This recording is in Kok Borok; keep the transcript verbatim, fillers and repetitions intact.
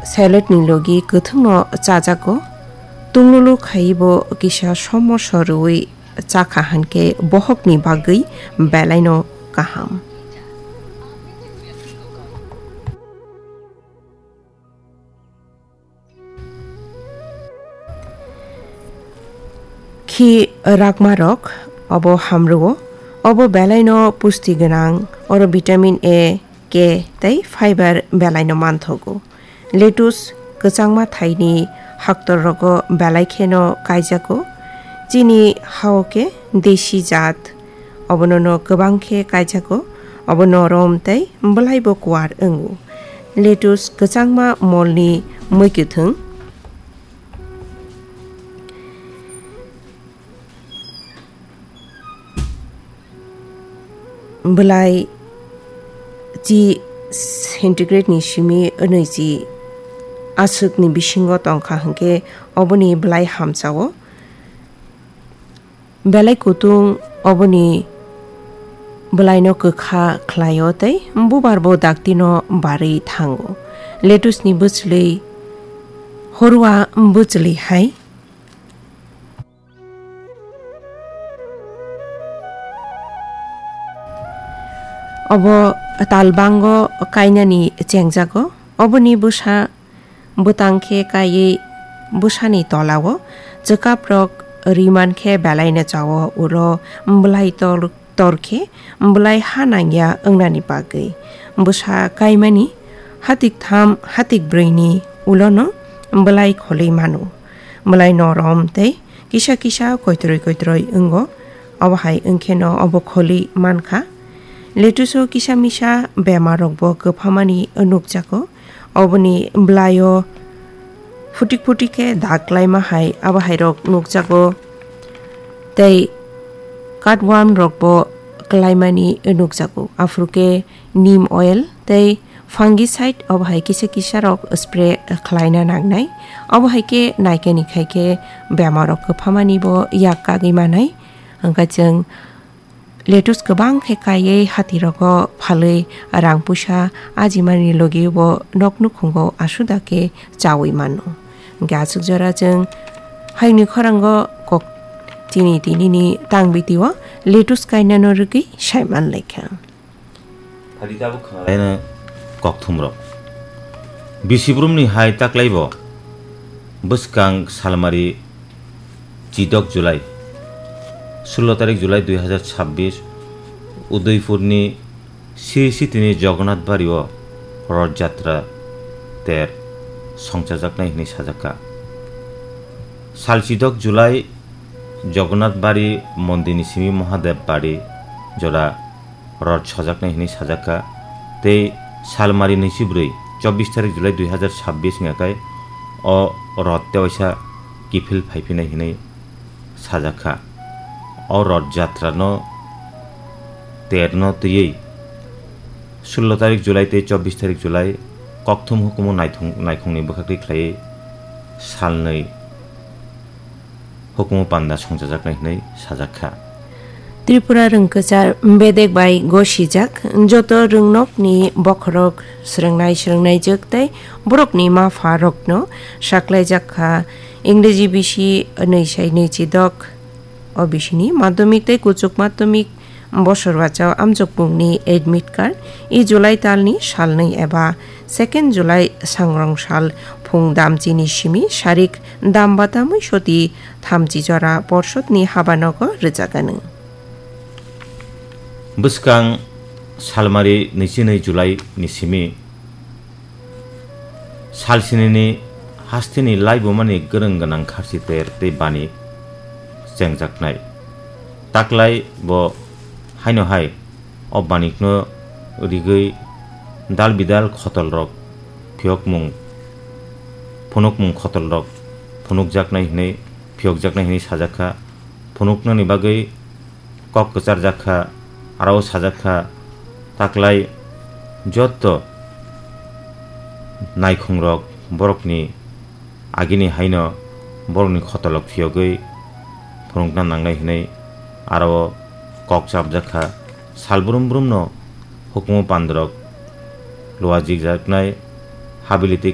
Saladni logi kwthwngno chajago. Tunglulu khaibo kisa somoso rwui chakha hinkhe bohokni bagwi belaino kaham. Khi rakmarok obo hamrwo, obo belaino pusti gwnang, oro vitamin A, K tei fiber belaino manthogo. Lettuce kwchangma thaini haktorrogo belai kheno kaijago. Chini hao khe desi jat, obonono kwbang khe kaijago, obo norom tei bwlaibo kuar wngo. Lettuce kwchangma molni mui kwthwng. Bwlai chi centigrade ni simi nwichi aswkni bisingo tongkha hinkhe oboni bwlai hamchao. Belai kutung oboni bwlaino kwkha khlaio tei bubar bo daktino barwi thango. Lettuce ni bwchwlwi horwa bwchwlwi hai. Obo talbango kainani chengjago. Oboni bwsa bwtang khe kaiwi bwsani tolao chwkaprok riman khe belaino chao, ulo bwlai tor, tor khe bwlai ha nangya wngnani bagwi. Bwsa kaimani hatik tham, hatik brwini ulono bwlai kholwi mano. Bwlai norom tei kisa kisa koitroi koitroi wngo, obo hai wngkheno obo kholwi mankha. Lettuce-o kisa misa bemarrokbo kwphamani nukjago. Oboni bwlaio phutik phutik khe dak klaima hai, abo hairok nukjago. Tei cutworm rokbo klaimani nukjago. Aphuru khe neem oil tei fungicide obo hai kisa kisa rok spray khlaina nangnai. Obo hai khe naikani khai khe bemar rok kwphamani bo yak kagwi manai. Hwnkhe chwng lettuce kwbang khe kaiwi hati rogo phalwi rang puisa ajimani logi bo nok nukhungo asuda khe chawi mano. Hwnkhe aswk jora chwng hayungni khorango kok chini tinini tangbitio lettuce kainano rwgwi saiman laikha. Phadi tabuk khwna laino kokthumrok. Bisi brumni hai taklaibo bwskang salmari chidok July, sullo tarik July dui hazar chabbish, Udaipurni Sri Sitini Jagannath Bario Rath Jatra ter songchajaknai hwnwi sajakha. Sal chidok July Jagannath Bari mondirni simi Mahadev Bari jora rot sojaknai hwnwi sajakha, tei salmari nwichibrwi, chobbish tarik July dui hazar chabbish wngya khai o rot tewaisa kiphil phaiphinai hwnwi sajakha. O rot jatrano terno twiwi sullo tarik July tei chobbish tarik July kokthum hukumu naithung-, naikhungni bwkhaktwi khlaiwi salnwi hukumu panda songchajaknai hwnwi sajakha. Tripura rwngkwchar bedek bai gosijak, joto rwngnokni bokhorok swrwngnai swrwngnaijwk tei borokni ma pha rokno saklaijak kha. Ingreji bisi nwi sai nwi chidok o bisini madhyamik tei kuchuk madhyamik bosor bachao amjokmungni admit card, e July talni salnwi eba second July sangrong sal phung damchini simi sarik dam batamwi soti thamchi jora porsotni habanogo rwjaganw. Bwskang salmari nwichi nwi July ni simi salsinini hasteni laibumani gwrwng gwnang kharchi ter tei bani chengjaknai. Taklai bo haino hai o banikno rigwi dal bidal khotolrok phiyokmung, phunukmung khotolrok phunukjaknai hwnwi, phiyokjaknai hwnwi sajakha. Phunuknani bagwi kok kwcharjak kha, aro sajak kha, taklai jotto naikhungrok borokni agini haino borokni khotolok phiyogwi phunukna nangnai hwnwi aro kok chapjak kha. Sal brum brumno hukumu pandrok luajikjaknai habili tei